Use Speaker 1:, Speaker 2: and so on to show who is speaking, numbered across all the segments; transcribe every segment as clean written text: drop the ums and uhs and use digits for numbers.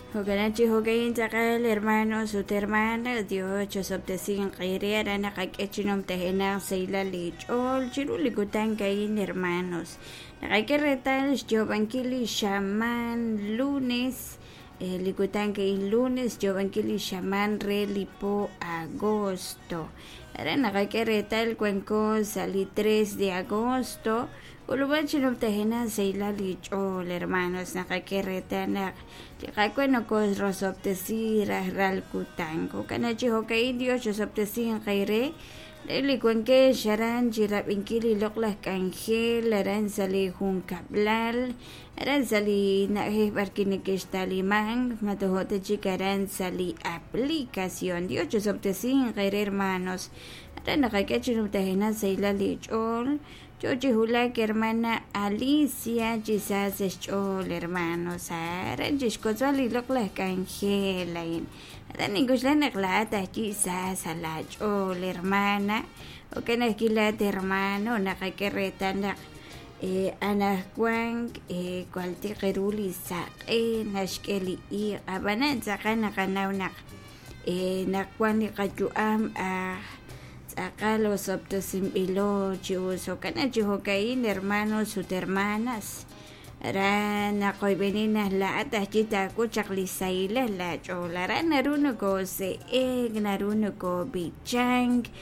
Speaker 1: Jo'kan chi jo'ka'in tz'aqal hermanos ut hermanas, Dios chosob'tesinq eere aran naqak'e chi numtajenaq sahilal li ch'ool chiru li kutan a'in hermanos. Naqak'e reetal xyoob'ankil li xamaan lunes, li kutan a'in lunes xyoob'ankil li xamaan re li po agosto. Aran naqak'e reetal wanko sa' li 3 de agosto. K'ulub'an chi numtajenaq sahilal li ch'ool hermanos, naqak'e reetal naq li Qaawa' nokoorosob'tesi rajlal kutan. Jo'kan chi jo'ka'in Dios chosob'tesinq eere re li wankex aran chi rab'inkil li loq'laj k'anjel aran sa' li junkab'lal, aran sa' li na'ajej b'arwi' nekextalimank, ma tojo' ta chik aran sa' li aplicación. Dios chosob'tesinq eere hermanos. Aran naqak'e chi numtajenaq sahilal li ch'ool. Yo chi wulak hermana Alicia chi sa sa' xch'ool hermanos, aran chixwotzb'al li loq'laj k'anjel a'in. Aran nink'oxla naq laa'at ajwi' sa sa' laach'ool hermana, jo'kan ajwi' laa'at hermano naqak'e reetal naq anaqwan jwal tiq ru li saq'e naxk'e li iq', ab'anan tz'aqal naqanaw naq naq wan li qayu'am aj tz'aqal osob'tesinb'ilo chi us. Jo'kan chi jo'ka'in hermanos ut hermanas, aran naqoyb'eni naq laa'at ajwi' taak'ut chaq li sahilal laach'ool. Aran naru nokoose'ek, naru nokoob'ichank,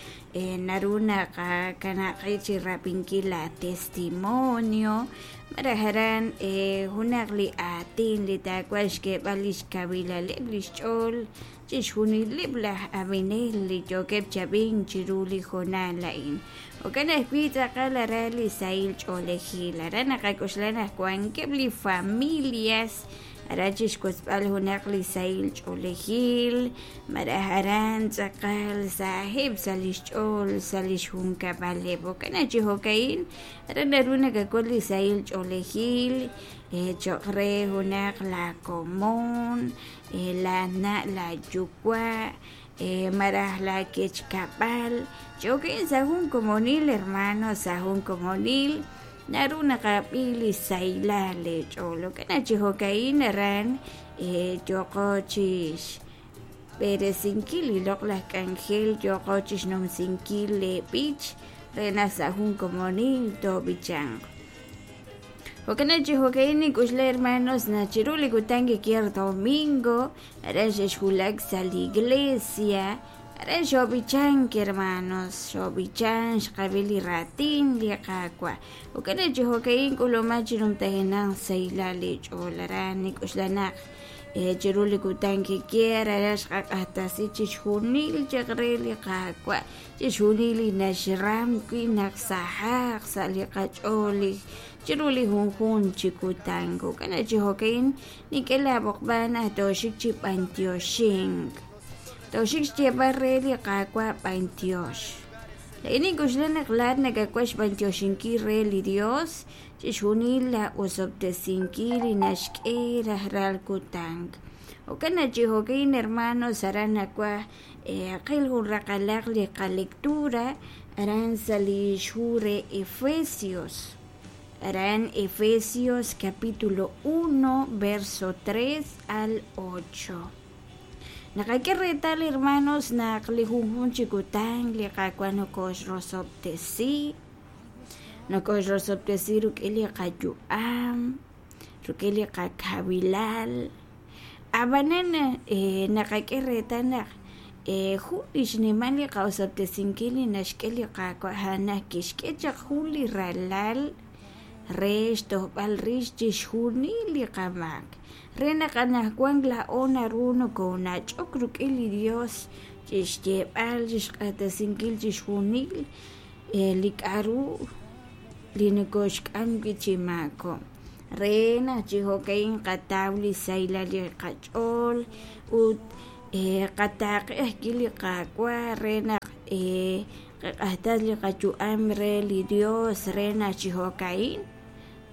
Speaker 1: naru naqakanab' qib' chi rab'inkil laatestimonio malaj aran junaq li aatin li taawaj xk'eeb'al li xkawilaleb' li xch'ool chixjunileb' laj ab'inel li yookeb' chi ab'ink chiru li hoonal a'in. Jo'kan ajwi' tz'aqal aran li sahil ch'oolejil. Aran naqak'oxla naq wankeb' li familias aran chixwotzb'al junaq li sahil ch'oolejil malaj aran tz'aqal saheb' sa' li xch'ool sa' li xjunkab'aleb'. Jo'kan naq chi jo'ka'in aran naru nakak'ul li sahil ch'oolejil cho'q re junaq laakomon, laana' laayuwa' malaj laakechkab'al. Chi jo'ka'in sa' jun komonil hermano, sa' jun komonil naru naqab'i li sahilal leech'ool. Jo'kan naq chi jo'ka'in aran yooqo chi xb'eresinkil li loq'laj k'anjel, yooqo chi xnumsinkil leeb'ich re naq sa' jun komonil toob'ichanq. Jo'kan naq chi jo'ka'in nink'oxla hermanos naq chiru li kutan kikier domingo aran xexwulak sa' li iglesia, aran xoob'ichank hermanos, xoob'ichank xqab'i li raatin li Qaawa'. Jo'kan naq chi jo'ka'in k'uluman chi numtajenaq sahilal li ch'ool aran nink'oxla naq chiru li kutan kikier aran xqaq'axtesi chixjunil chaq re li Qaawa', chixjunil li naxram wi' naq sahaq sa' li qach'ool li chiru li junjunq chi kutan. Jo'kan naq chi jo'ka'in nink'e laab'oqb'al naq tooxik chi b'antioxink, tooxik xyeeb'al re li Qaawa' b'antiox. Laa'in nink'oxla naq laa'at nakawaj xb'antioxinkil re li Dios chixjunil laa'osob'tesinkil li naxk'e rajlal kutan. Jo'kan naq chi jo'ka'in hermanos aran nawaj qil jun raqalaq li qalectura aran sa' li xhu re Efesios. Aran Efesios capítulo 1 verso 3 al 8. Naqak'e reetal hermanos naq li junjunq chi kutan li Qaawa' nokooxrosob'tesi, nokooxrosob'tesi rik'in li qayu'am, rik'in li qakawilal. Ab'anan naqak'e reetal naq jun li xnimal li qa'osob'tesinkil li naxk'e li Qaawa' a'an naq kixk'e chaq jun li ralal re xtojb'al rix chixjunil li qamaak, re naq anaqwan laa'o naru nokoonach'ok rik'in li Yos chi xyeeb'al, chi xq'axtesinkil chixjunil li k'aru li nokooxk'am wi' chi maakob'k. Re naq chi jo'ka'in qataw li sahilal li qach'ool ut qataaqe ajwi' li Qaawa' re naq qaq'axtas li qayu'am re li Dios re naq chi jo'ka'in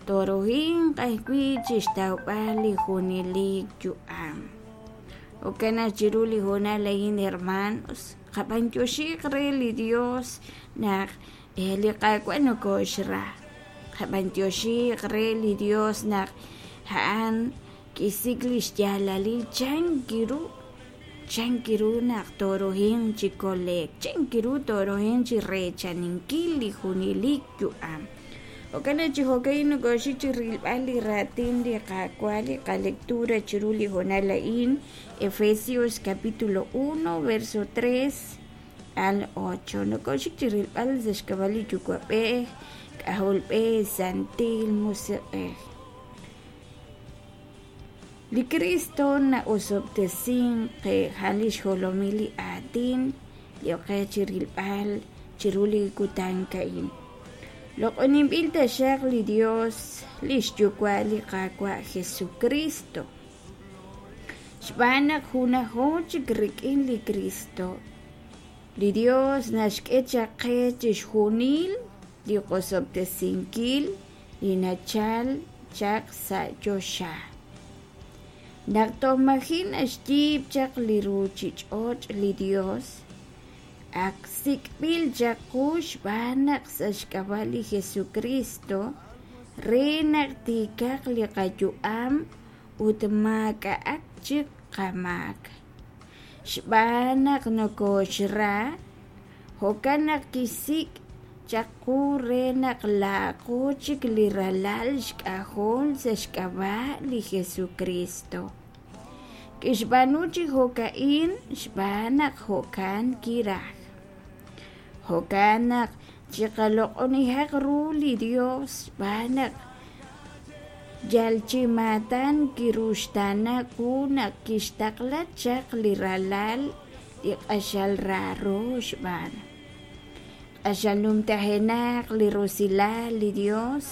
Speaker 1: tooruhinq ajwi' chi xtawb'al li junelik yu'am. Jo'kan naq chiru li hoonal a'in hermanos, qab'antioxiq re li Dios naq li Qaawa' nokooxra. Qab'antioxiq re li Dios naq a'an Kixsik' li xyaalalil chank ru, chank ru naq tooruhinq chi kole'k, chank ru tooruhinq chi reechaninkil li junelik yu'am. Jo'kan naq chi jo'ka'in nokooxik chi rilb'al li raatin li Qaawa' li qalectura chiru li hoonal a'in, Efesios capítulo 1 verso 3 al 8. Nokooxik chi rilb'al sa' xk'ab'a' li Yuwa'b'ej, K'ajolb'ej, Santil Musiq'ej. Li Kristo na'osob'tesink qe, a'an li xjolomil li aatin li ok qe chi rilb'al chiru li kutan a'in. Loq'oninb'il taxaq li Dios, li xYuwa' li Qaawa' Jesukristo. Xb'aan naq junajo chik rik'in li Kristo, li Dios naxk'e chaq qe chixjunil li qosob'tesinkil li nachal chaq sa' choxa. Naq toj maji' naxyiib' chaq li ruuchich'och' li Dios, ak sik'b'il chaq qu xb'aan naq sa' xk'ab'a' li Jesukristo re naq tiikaq li qayu'am ut maak'a'aq chik qamaak. Xb'aan naq nokooxra, jo'kan naq kixsik' chaq qu re naq laa'aqo chik li ralal xk'ajol sa' xk'ab'a' li Jesukristo. Kixb'aanu chi jo'ka'in xb'aan naq jo'kan kiraj. Jo'kan naq chiqaloq'onihaq ru li Dios xb'aan naq yal chi maatan kiruxtaana qu naq kixtaqla chaq li Ralal li q'axal raaro xb'aan. Q'axal numtajenaq li rusilal li Dios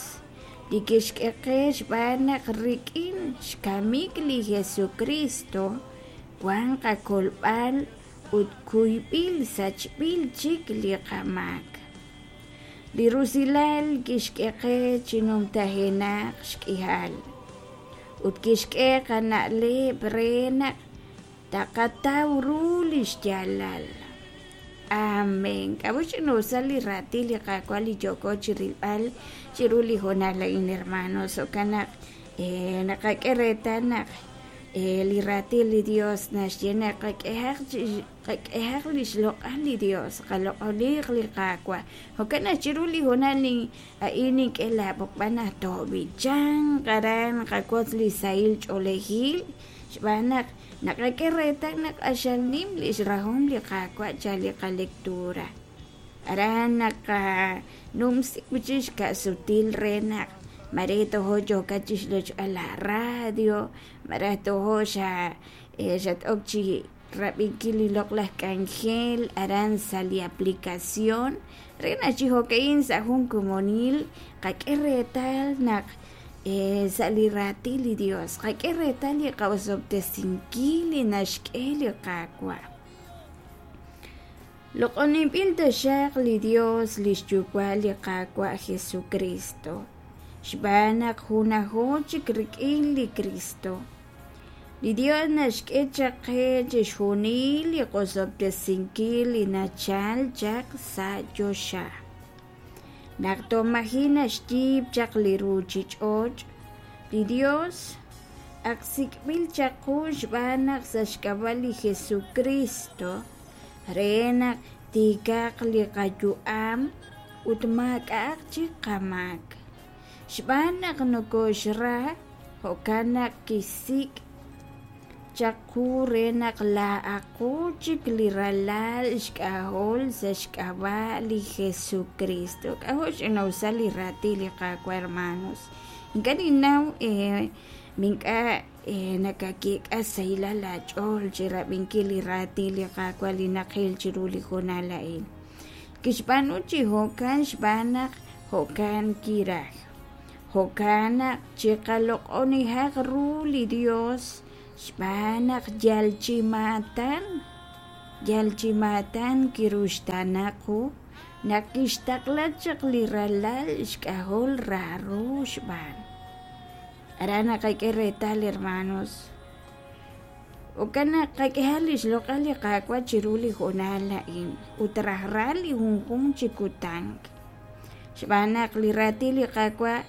Speaker 1: li kixk'e qe xb'aan naq rik'in xkamik li Jesukristo wank qakolb'al ut kuyb'il sachb'il chik li qamaak. Li rusilal kixk'e qe chi numtajenaq xk'ihal ut kixk'e qana'leb' re naq taqataw ru li xyaalal. Amén. K'a'ut xch'ina'usal li raatin li Qaawa' li yooko chirilb'al chiru li hoonal a'in, hermanos? Jo'kan naq naqak'e reetal naq li raatin li Dios naxye naq qak'ehaq qak'ehaq li xloq'al li Dios, qaloq'oniq li Qaawa'. Jo'kan naq chiru li hoonal a'in nink'e laab'oqb'al naq toob'ichanq aran qawotz li sahil ch'oolejil xb'aan naq naqak'e reetal naq q'axal nim li xrahom li Qaawa' chal li qalectura. Aran naqanumsi wi' chik xka'sutil re naq mare tojo yookat chixlochb'al la radio, malaj tojo xa xat-ok chi rab'inkil li loq'laj k'anjel aran sa' li aplicación re naq chi jo'ka'in sa' jun komonil qak'e reetal naq sa' li raatin li Dios qak'e reetal li qa'osob'tesinkil li naxk'e li Qaawa'. Loq'oninb'il taxaq li Dios li xYuwa' li Qaawa' Jesukristo, xb'aan naq junajo chik rik'in li Kristo. Li Dios naxk'e chaq qe chixjunil li qosob'tesinkil li nachal chaq sa' choxa. Naq toj maji' naxyiib' chaq li ruuchich'och', li Dios ak sik'b'il chaq qu xb'aan naq sa' xk'ab'a' li Jesukristo re naq tiikaq li qayu'am ut maak'a'aq chik qamaak. Xb'aan naq nokooxra, jo'kan naq kixsik' chaq qu re naq laa'aqo chik li ralal xk'ajol sa' xk'ab'a' li Jesukristo. K'ajo' xch'ina'usal li raatin li Qaawa', hermanos. Ink'a' ninnaw mink'a' nakakeek'a sahilal aach'ool chi rab'inkil li raatin li Qaawa' li naqil chiru li hoonal a'in. Kixb'aanu chi jo'kan xb'aan naq jo'kan kiraj. Jo'kan naq chiqaloq'onihaq ru li Dios xb'aan naq yal chi maatan, yal chi maatan kiruxtaana qu naq kixtaqla chaq li ralal xk'ajol raaro xb'aan. Aran naqak'e reetal, hermanos. Jo'kan naq qak'ehaq li xloq'al li Qaawa' chiru li hoonal a'in ut rajlal li junjunq chi kutan. Xb'aan naq li raatin li Qaawa'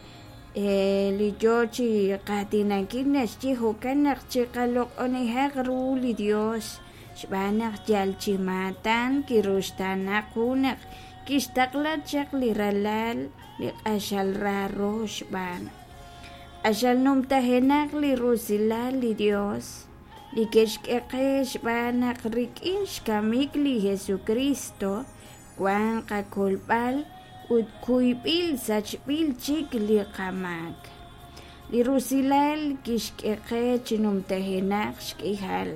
Speaker 1: li yo chi qaatinankil naxye jo'kan naq chiqaloq'onihaq ru li Dios xb'aan naq yal chi maatan kiruxtaana qu naq kixtaqla chaq li Ralal li q'axal raaro xb'aan. Q'axal numtajenaq li rusilal li Dios li ke'xk'e qe xb'aan naq rik'in xkamik li Jesukristo wank qakolb'al ut kuyb'il sachb'il chik li qamaak. Li rusilal kixk'e qe chi numtajenaq xk'ihal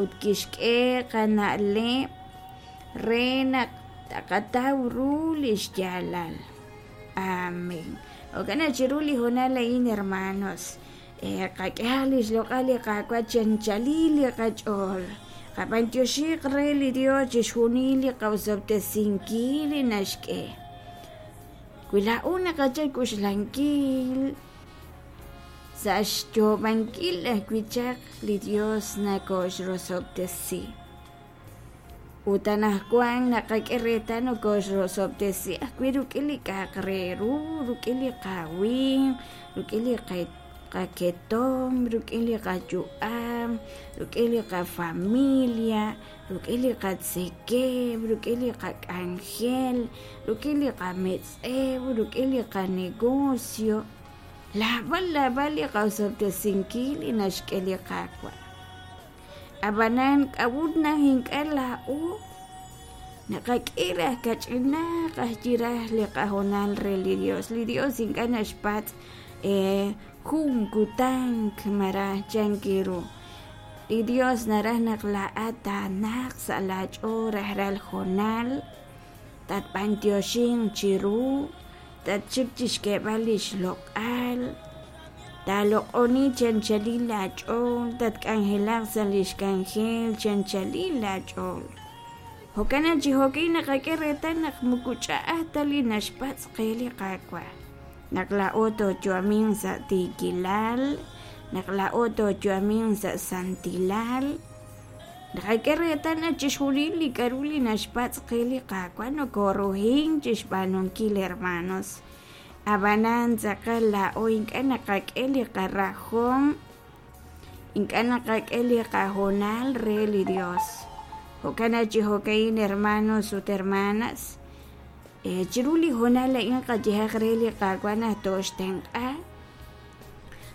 Speaker 1: ut kixk'e qana'leb' re naq taqataw ru li xyaalal. Amén. Jo'kan naq chiru li hoonal a'in, hermanos, qak'ehaq li xloq'al li Qaawa' chi anchalil li qach'ool. Qab'antioxiq re li Dios chixjunil li qosob'tesinkil li naxk'e. Wi laa'o naqachal k'uxlankil sa' xyoob'ankil ajwi' chaq li Dios nakooxrosob'tesi. Ut anaqwan naqak'e reetal nokooxrosob'tesi ajwi' rik'in li k'a'aq re ru, rik'in li qawinq, rik'in li qaketomq, rik'in li qayu'am, rik'in li qafamilia, rik'in li qatzekemq, rik'in li qak'anjel, rik'in li qametz'ew, rik'in li qanegocio. Naab'al naab'al li qosob'tesinkil li naxk'e li Qaawa'. Ab'anan k'a'ut naq ink'a' laa'o naqak'e raj kach'inaq ajwi' raj li qahoonal re li Dios? Li Dios ink'a' naxpatz' jun kutan malaj chank ru. Li Dios naraj naq laa'at taanaq sa' laach'ool rajlal hoonal, tatb'antioxinq chiru, tatxik chi xk'eeb'al li xloq'al, taaloq'oni chi anchalil laach'ool, tatk'anjelaq sa' li xk'anjel chi anchalil laach'ool. Jo'kan naq chi jo'kin naqak'e reetal naq moko ch'a'aj ta li naxpatz' qe li Qaawa', naq laa'o tooyu'aminq sa' tiikilal, naq laa'o tooyu'aminq sa' santilal. Naqak'e reetal naq chixjunil li k'a'ru li naxpatz' qe li Qaawa' nokoruhink chixb'aanunkil, hermanos. Ab'anan tz'aqal laa'o ink'a' naqak'e li qarajom, ink'a' naqak'e li qahoonal re li Dios. Jo'kan naq chi jo'ka'in, hermanos ut hermanas, chiru li hoonal a'in qayehaq re li Qaawa' naq tooxtenq'a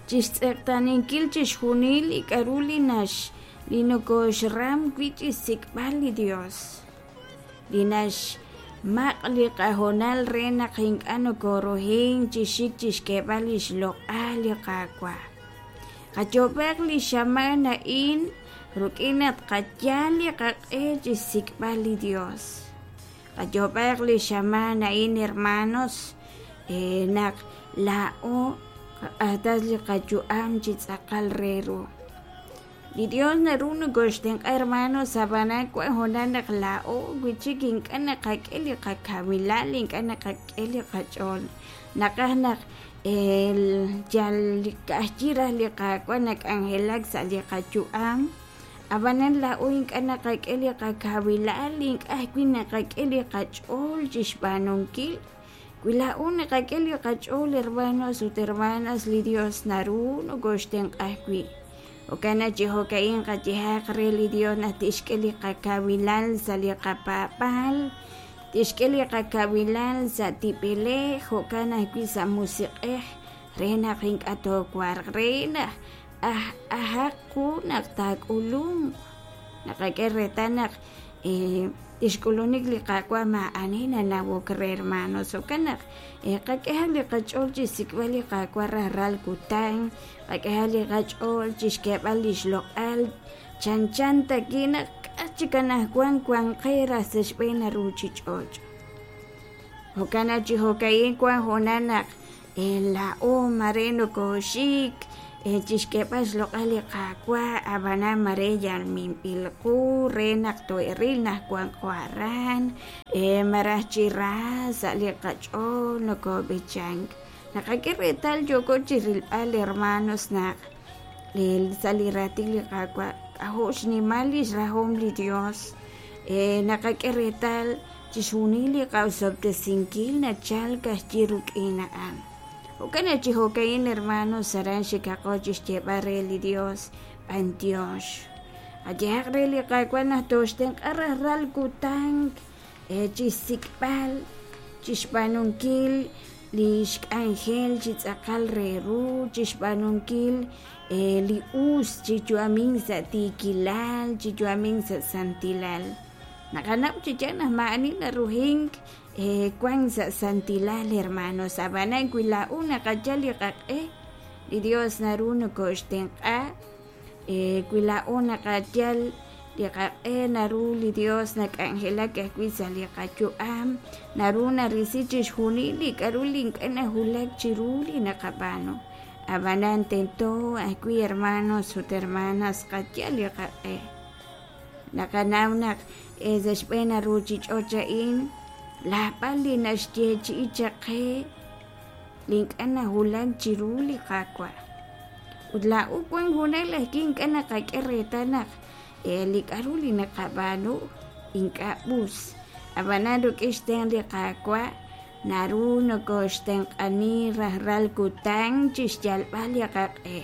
Speaker 1: chixtz'eqtaaninkil chixjunil li k'a'ru li nax li nokoxram wi' chixsik'b'al li Dios, li naxmaq' li qahoonal re naq ink'a' nokoruhink chi xik chixk'eeb'al lix loq'al li Qaawa'. Qayoob'aq li xamaan a'in rik'in naq tqayal li qaq'e chixsik'b'al li Dios. Qayoob'aq li xamaan a'in, hermanos, naq laa'o qaq'axtas li qayu'am chi tz'aqal re ru. Li Dios naru nokoxtenq'a, hermanos, ab'anan wank hoonal naq laa'o wi' chik ink'a' naqak'e li qakawilal, ink'a' naqak'e li qach'ool. Naqaj naq yal ka'ajwi' raj li Qaawa' nak'anjelak sa' li qayu'am. Ab'anan laa'o ink'a' naqak'e li qakawilal, ink'a' ajwi' naqak'e li qach'ool chi xb'aanunkil. Wi laa'o naqak'e li qach'ool, hermanos ut hermanas, li Dios naru nokooxtenq'a ajwi'. Jo'kan naq chi jo'ka'in qayehaq re li Dios naq tixk'e li qakawilal sa' li qapaab'aal, tixk'e li qakawilal sa' tib'elej, jo'kan ajwi' sa' musiq'ej, re naq ink'a' toowarq, re naq aj ajaq qu naq taak'ulunq. Naqak'e reetal naq lix k'ulunik li Qaawa' maa'ani nanawok re, hermanos. Jo'kan naq qak'ehaq li qach'ool chi xsik'b'al li Qaawa' rajlal kutan, qak'ehaq li qach'ool chi xk'eeb'al li xloq'al chanchan tawi' naq k'a' chik anaqwan wank qe raj sa' xb'een ruuchich'och'. Jo'kan naq chi jo'ka'in wank hoonal naq laa'o mare nokooxik chi xk'eeb'al xloq'al li Qaawa', ab'anan mare yal minb'il qu re naq too'eril naq wanqo aran, malaj chi ra sa' li qach'ool nokoob'ichank. Naqak'e reetal yooko chi rilb'al, hermanos, naq sa' li raatin li Qaawa' k'ajo' xnimal li xrahom li Dios. Naqak'e reetal chixjunil li qosob'tesinkil nachalk ajwi' rik'in a'an. Jo'kan naq chi jo'ka'in hermanos aran xikaqo chi xyeeb'al re li Dios b'antiox. Qayehaq re li Qaawa' naq tooxtenq'a rajlal kutan chi xsik'b'al, chi xb'aanunkil li xk'anjel chi tz'aqal re ru, chi xb'aanunkil li us, chi yu'amink sa' tiikilal, chi yu'amink sa' santilal. Naqanaw chi yaal naq maa'ani naruhink wank sa' santilal hermanos, ab'anan wi laa'o naqayal li qaq'e, li Dios naru nokooxtenq'a. Wi laa'o naqayal li qaq'e, naru li Dios nak'anjelak ajwi' sa' li qayu'am, naru narisi chixjunil li k'a'ru li ink'a' nawulak chiru li naqab'aanu. Ab'anan tento ajwi' hermanos ut hermanas qayal li qaq'e. Naqanaw naq sa' xb'een a ruuchich'och' a'in laab'al li naxyeechi'i chaq qe li ink'a' nawulak chiru li Qaawa'. Ut laa'o wank junaq ajwi' ink'a' naqak'e reetal naq li k'a'ru li naqab'aanu ink'a' us. Ab'anan rik'in xtenq' li Qaawa' naru nokooxtenq'ani rajlal kutan chi xyalb'al li qaq'e.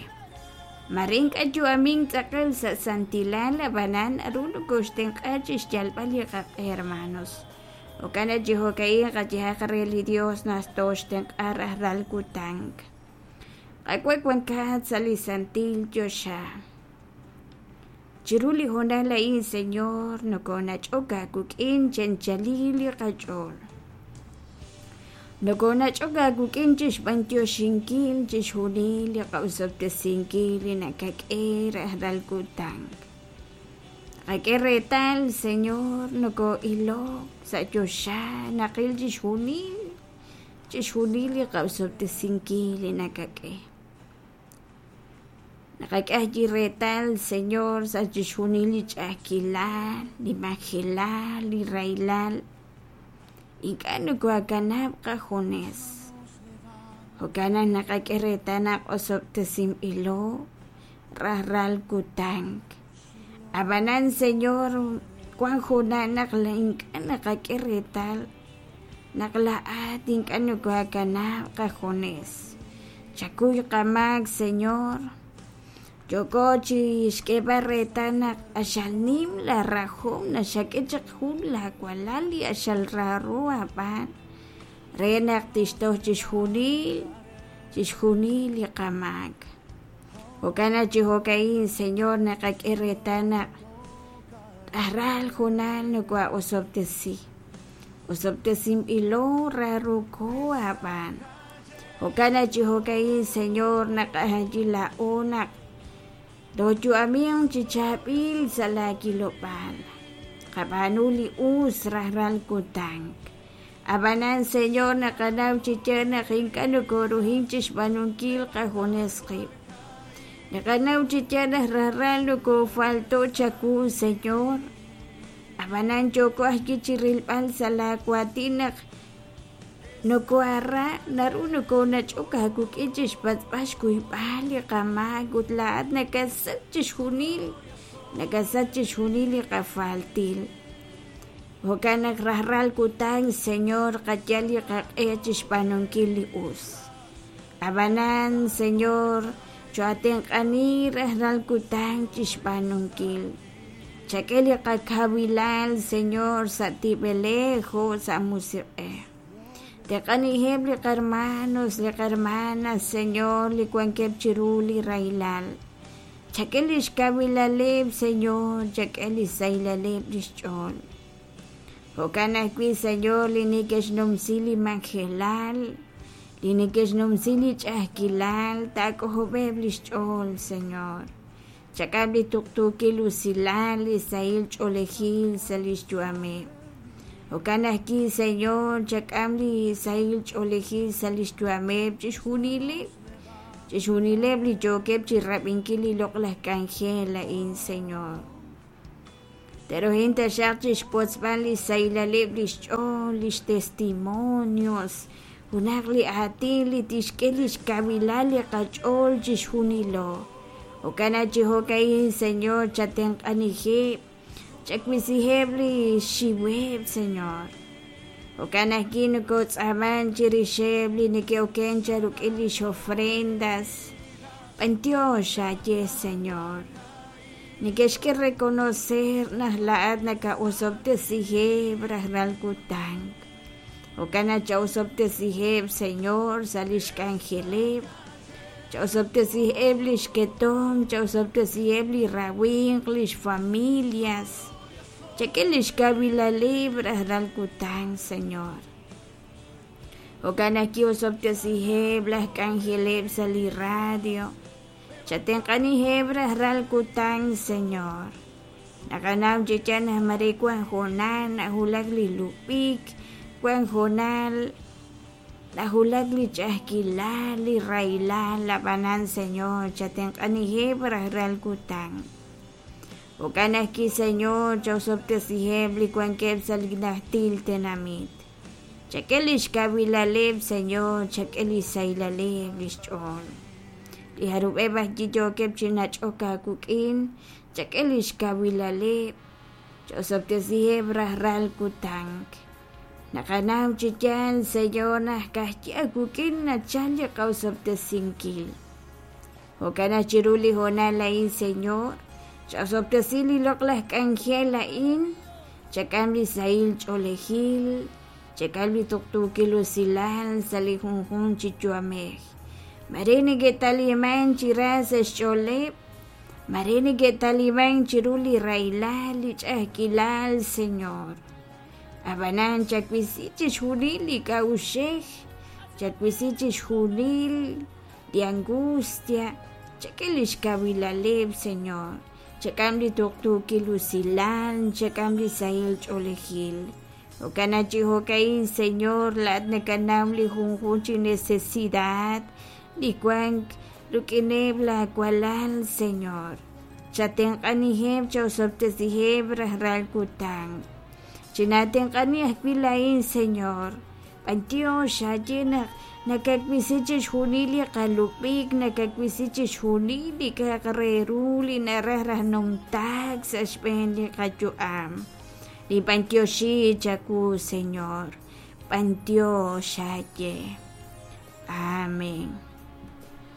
Speaker 1: Mare ink'a' yu'amink tz'aqal sa' santilal, ab'anan naru nokooxtenq'a chi xyalb'al li qaq'e hermanos. Jo'kan naq chi jo'ka'in qayehaq re li Dios naq tooxtenq'a rajlal kutan. Qaawa' wankat sa' li santil choxa. Chiru li hoonal a'in, Señor, nokoonach'ok aawik'in chi anchalil li qach'ool. Nokoonach'ok aawik'in chi xb'antioxinkil chixjunil li qa'osob'tesinkil li nakak'e rajlal kutan. Naqak'e reetal, Señor, nokoo'ilok sa' choxa, naqil chixjunil, chixjunil li qa'osob'tesinkil li nakak'e. Naqak'e ajwi' reetal, Señor, sa' chixjunil li ch'a'ajkilal, li majelal, li rahilal, ink'a' nokooakanab' qajunes. Jo'kan naq naqak'e reetal naq osob'tesinb'ilo rajlal kutan. Ab'anan, Señor, wank junaq naq ink'a' naqak'e reetal naq laa'at ink'a' nokooakanab' qajunes. Chakuy qamaak, Señor. Yooko chi xk'eeb'al reetal naq q'axal nim laarahom naxak'e chaq jun laawalal li q'axal raaro aab'aan re naq tixtoj chixjunil, chixjunil li qamaak. Jo'kan naq chi jo'ka'in, Señor, naqak'e reetal naq rajlal junal noko'osob'tesi. Osob'tesinb'ilo raarooko aab'aan. Jo'kan naq chi jo'ka'in, Señor, naqajayi laa'o naq tooyu'aminq chi chaab'il sa' laawilob'aal. Qab'aanu li us rajlal kutan. Ab'anan, Señor, naqanaw chi yaal naq ink'a' nokooruhink chi xb'aanunkil qajunes qib'. Naqanaw chi yaal naq rajlal nokoofalto' chawu, Señor. Ab'anan yooko ajwi' chi rilb'al sa' laawaatin naq nokoohara, naru nokoonach'ok aawik'in chi xpatz'b'al xkuyb'al li qamaak ut laa'at nakasach chixjunil, nakasach chixjunil li qafaltil. Jo'kan naq rajlal kutan, Señor, qayal li qaq'e chi xb'aanunkil li us. Ab'anan, Señor, choo'atenq'ani rajlal kutan chi xb'aanunkil. Chak'e li qakawilal, Señor, sa' tib'elej jo' sa' musiq'ej. Tenq'aniheb' li qarmanos, li qarmanas, Señor, li wankeb' chiru li rahilal. Chak'e li xkawilaleb', Señor, chak'e li xsahilaleb' li xch'ool. Jo'kan ajwi', Señor, li neke'xnumsi li majelal, li neke'xnumsi li ch'a'ajkilal, taak'ojob'eb' li xch'ool, Señor. Chak'am li tuqtuukil usilal, li sahil ch'oolejil sa' li xyu'ameb'. Jo'kan ajwi', Señor, chak'am li sahil ch'oolejil sa' li xyu'ameb' chixjunileb', chixjunileb' li yookeb' chi rab'inkil li loq'laj k'anjel a'in, Señor. Te'ruhin taxaq chixwotzb'al lix sahilaleb' lix ch'ool, lix testimonios, junaq li aatin li tixk'e lix kawilal li qach'ool chixjunilo. Jo'kan naq chi jo'ka'in, Señor, chatenq'aniheb', chawisiheb' li xxiweb', Señor. Jo'kan ajwi' nokotz'aaman chirixeb' li neke'oken chaq rik'in lix ofrendas. B'antiox aaye, Señor. Neke'xk'e reconocer naq laa'at naka'osob'tesiheb' rajlal kutan. Jo'kan naq cha'osob'tesiheb', Señor, sa' lix k'anjeleb'. Cha'osob'tesiheb' lix ketomq, cha'osob'tesiheb' li rawimq, lix familias. Chak'e lix kawilaleb' rajlal kutan, Señor. Jo'kan naq ki'osob'tesiheb' laj k'anjeleb' sa' li radio. Chatenq'aniheb' rajlal kutan, Señor. Naqanaw chi yaal naq mare wan hoonal nawulak li lub'ik, wan hoonal nawulak li ch'a'ajkilal, li rahilal, ab'anan, Señor, chatenq'aniheb' rajlal kutan. Jo'kan ajwi', Señor, chaosob'tesiheb' li wankeb' sa' li najtil tenamit. Chak'e lix kawilaleb', Señor, chak'e li sahilaleb' lix ch'ool. Li jarub'eb' ajwi' yookeb' chi nach'ok aawik'in, chak'e lix kawilaleb', chaosob'tesiheb' rajlal kutan. Naqanaw chi yaal, Señor, naq ka'ajwi' aawik'in nachal li qaosob'tesinkil. Jo'kan naq chiru li hoonal a'in, Señor, chaosob'tesi li loq'laj k'anjel a'in, chak'am li sahil ch'oolejil, chak'am li tuqtuukil usilal sa' li junjunq chi yu'amej. Mare neke'taliman chi ra sa' xch'ooleb', mare neke'taliman chiru li rahilal, li ch'a'ajkilal, Señor. Ab'anan chawisi chixjunil li k'a'uxej, chawisi chixjunil li angustia, chak'e lix kawilaleb', Señor, chak'am li tuqtuukil usilal, chak'am li sahil ch'oolejil. Jo'kan naq chi jo'ka'in, Señor, laa'at nakanaw li junjunq chi necesidad li wank rik'ineb' laa walal, Señor. Chatenq'aniheb', chaosob'tesiheb' rajlal kutan. Chinaatenq'ani ajwi' laa'in, Señor. B'antiox aaye naq nakawisi chixjunil li qalub'ik, nakawisi chixjunil li k'a'aq re ru li naraj raj numtaak sa' xb'een li qayu'am. Ninb'antioxi chawu, Señor. B'antiox aaye. Amén.